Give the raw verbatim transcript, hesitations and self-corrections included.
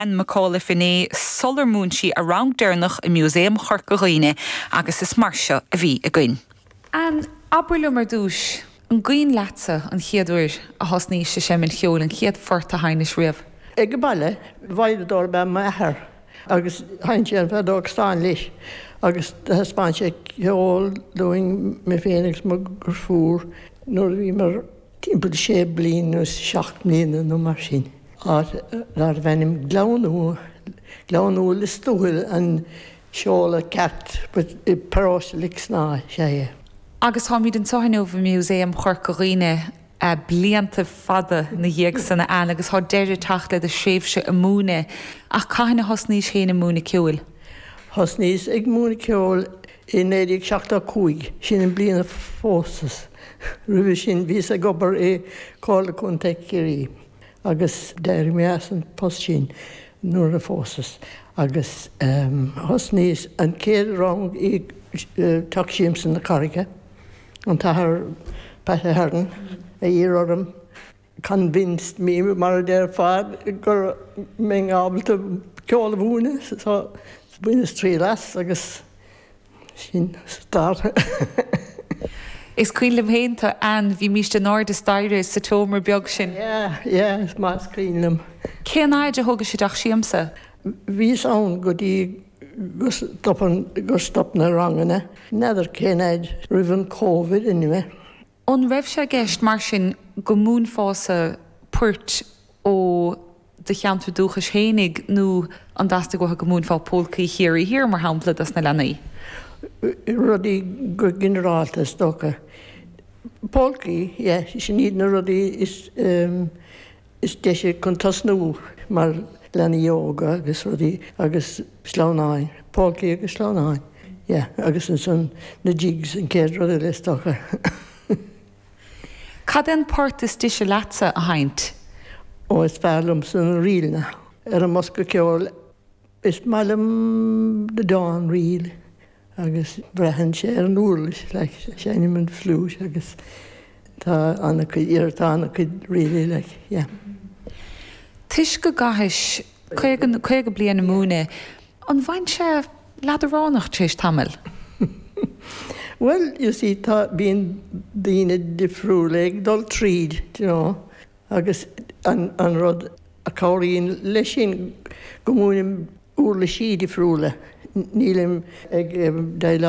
Anne McAuliffe inné sular mhúin sí a rang deireanach i Músaem Chorca Dhuibhne agus is mar seo a bhí againn. Anne abair liom ar dtús an cuimhin leatsa an chéad uair a thosnaís ag seinm cheoil an chéad phort a sheinnis riamh. Ag baile veidhleadóir ab ea m'athair agus sheinn sé an fheadóg stáin leis agus thaispeáin sé ceol dúinn mé féin agus mo dheirfiúr nuair a bhí mar timpeall sé bliana nó seacht mbliana nó mar sin. Áit darbh ainm Gleann Gleann Lios Tuathail an seoladh ceart i bparóiste Lixná sé é. Agus táimid anseo inniu i Músaem Chorca Dhuibhne blianta fada ina dhiaidh san Anne agus tá deireadh tagtha le do thréimhse ag múineadh ach cathain a thosnaís féin ag múineadh ceoil. Thosnaíos ag múineadh ceoil i naoi déag seachtó cúig, sin an bliain a phósas. Roimhe sin bhíos ag obair i Comhairle Contae Chiarraí agus d'éirigh mé as an post sin nuair a phósas agus thosnaíos an chéad rang i Teach Siamsa na Carraige, an tAthair Pat Ahern a iarr orm convinced me mar a déarfá go mbeinn ábalta ceol a mhúineadh so bhaineas triail as agus sin start. Is cuimhin liom féin tú Anne bhímist in airde staighre sa tseomra beag sin. Yeah, yeah, is maith is cuimhin liom. Cén fhaid a thóg sé i dteach siamsa? Bhíos ann go dtí go stop go stop na ranganna, n'fheadar cén fhaid roimh an Covid anyway. An raibh sé i gceist mar sin go múinfeása poirt ó do cheantar dúchais féinig nó an dteastaigh uait go múinfeá polcaí Chiarraí Thiar mar shampla dos na leanaí? Rudaí go ginearálta is dócha. Polcaí, yeah, sin iad na rudaí is um, is deise chun tosnú mar leanaí óga agus rudaí agus sleamhnáin, polcaí agus sleamhnáin. Yeah, agus ansan na jigs an chéad rud eile is dócha. Cad é an port is deise leatsa a sheinnt? Ó is fearr liomsa na ríleanna ar an mbosca ceoil is maith liom The Dawn Reel agus braitheann sé ar an uirlis like, seinnim an fliúit agus tá an-chuid tá an-chuid ríleanna like, yeah. Toisc go gcaithis caoga bliain ag múineadh, an mbíonn sé leadránach tar éis tamaill? Well, you see, tá bíonn daoine difriúla ag dul tríd, you know, agus an, an rud a chabhraíonn leis sin go múinim uirlisí difriúla. Nílim ag déileáil